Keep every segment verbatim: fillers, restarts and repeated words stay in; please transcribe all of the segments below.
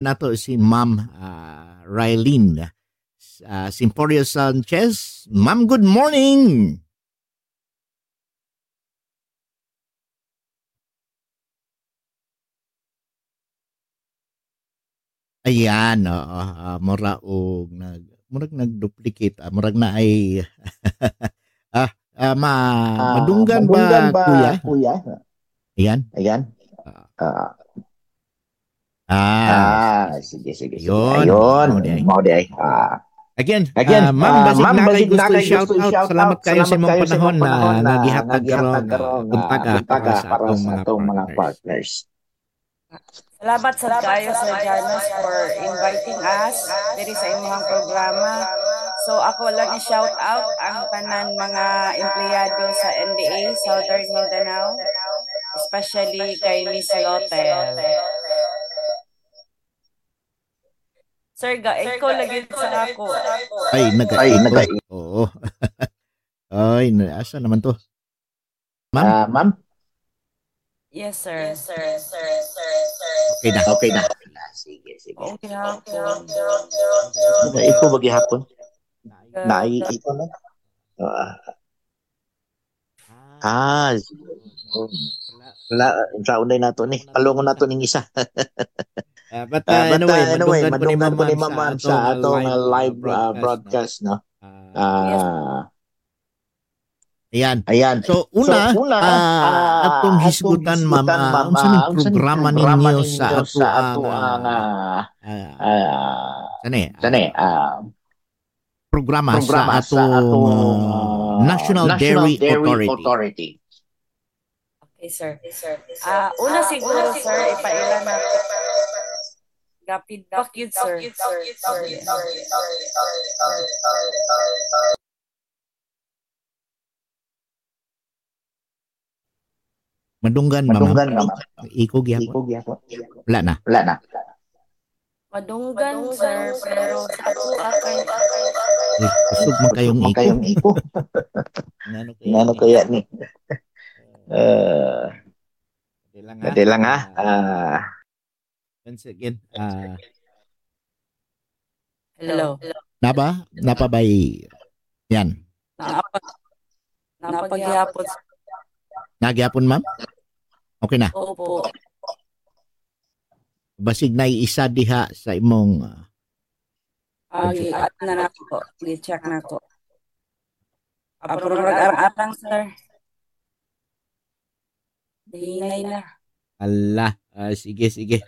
nato si Ma'am, ah, Rylene, ah, Simporio Sanchez. Ma'am, good morning. Ayan, oo. Ah, mura og nag-, murag nag-duplicate, ah, murag na ay, ah, ah, ma-, Ah, madunggan madunggan ba, ba, kuya? Kuya? Ayan. Ayan. Ah. Ah. Ah, Ah, sige, sige, sige. Yun. Ayun, Mao di ay. Mao di ay. Ah. Again, Again, ah, ma'am, ah, basig ma'am, na kay basig gusto na kay i-shout gusto out. I-shout Salamat out. Kayo sa Salamat imong kayo sa imong panahon na panahon na nagihatag nagihatag karong, karong, ah, buntag, ah, buntag, para ah, sa para atong sa mga atong mga partners. Partners. Salamat sa kayo, Sir Janus, for inviting us diri sa imuhang programa. So, ako lang i-shout out ang tanan mga empleyado sa N D A Southern Mindanao, especially kay Miss Lotel. Sir, ga-echo lagi sa ako. Ay, nag-echo. Ay, nag-echo. Oo. Ay, na-, asa naman to? Ma'am? Ah, ma'am? Yes, sir. Yes, sir. Okay na. Okay na. Sige, sige. Okay, hapon. Ito ba gihapon? Nai-, ito na. Ah. Ah, sige. Wala, sa unay nato ni. Palungon nato ning isa. Ah, but, Ah, ah, but, anyway, ah, anyway, madunggan ko ni madunggan ko ni Ma'am Ma'am sa sa atong, ah, atong, ah, live, ah, live broadcast, broadcast, no? no? Ah, Yes. Ah, Ayan. Ayan. So, una, So, una, ah, ah, atong atong hisgutan, ma'am, hisgutan, ah, ma'am, unsa ning ah, unsa ning programa programa ninyo sa ninyo sa atoang, atoang, ah, ah, ah, ah, sani, sani, ah, ah, programa sa programa sa atong, atong, ah, ah, National National Dairy Dairy Authority? Authority. Okay, sir. Ah, una siguro, sir, ipaila na. Ga-feedback yun, sir. Sorry. Madunggan, ma'am. Madunggan, ma'am. Iko gyapon. Iko gyapon. Wala na. Wala na. Madunggan, sir, pero sa ako, akay. Eh, kusog man kayong iko. Kusog man kayong iko. Ngano kaya Ngano ni? Kaya ni? Eh, Dali lang, ha? Dali lang, ha? Ah. Ah. Once again, ah, Hello. Napa? Napa bay-, yan. Napa-, napaghihapon. Nagyapon, ma'am? Okay na. Opo. Basig na isa diha sa imong, ah, Ah, gi-, ano na nako. Gi-check nako. Ah, pero mag-arang-arang, sir. Hinay na. Ala, ah, sige, sige.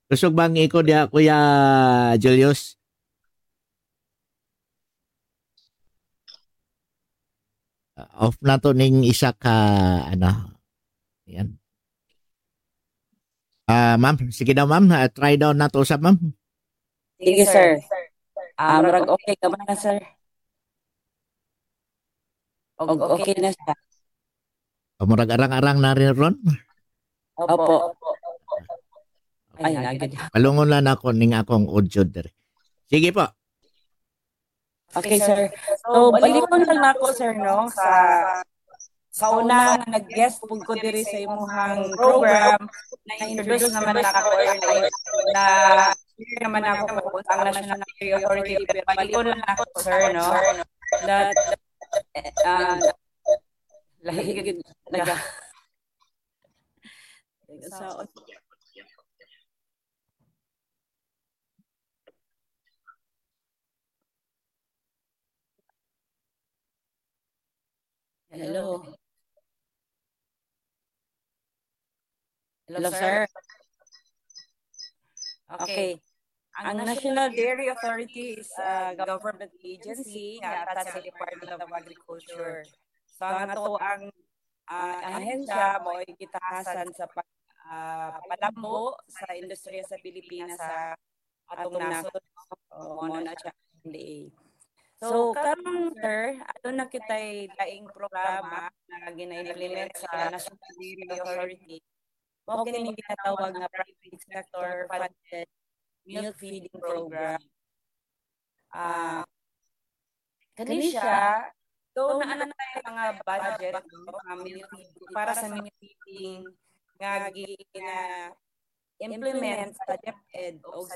Kusog bang iko diha, Kuya Julius? Ah, off na to ning isa ka, ano. Yan. Ah, ma'am, sige daw, ma'am. Ah, try daw nato usab, ma'am. Sige, sir. Ah, murag okay ka man na, sir. Og okay na siya. O, murag arang-arang na rin ron. Opo. Ay, nagid. Palungon lang ako ning akong audio diri. Sige po. Okay, sir. So, balikon lang nako, sir, no, sa, sa una nga nag-guest pud ko diri sa imuhang program, na-introduce naman nako earlier, na share naman nako kung ang National Dairy Authority, pero balikon lang nako, sir, no, that, uh, lahi gid naga-, sa Hello. Hello, sir. Okay. Ang National Dairy Authority is a government agency nga attached sa Department of Agriculture. So, ang ato ang, ah, ahensya mo ay gitahasan sa pag, ah, palambo sa industriya sa Pilipinas sa atong nasod. O, mao na siya, N D A. So, karon, sir, ato na kita'y laing programa nga gina-implement sa National Dairy Authority. Mao kini ginatawag nga private sector funded milk feeding program. Ah, kani siya, though naa na tayo mga budget, no, mga milk feeding, para sa milk feeding nga gina-implement sa DepEd o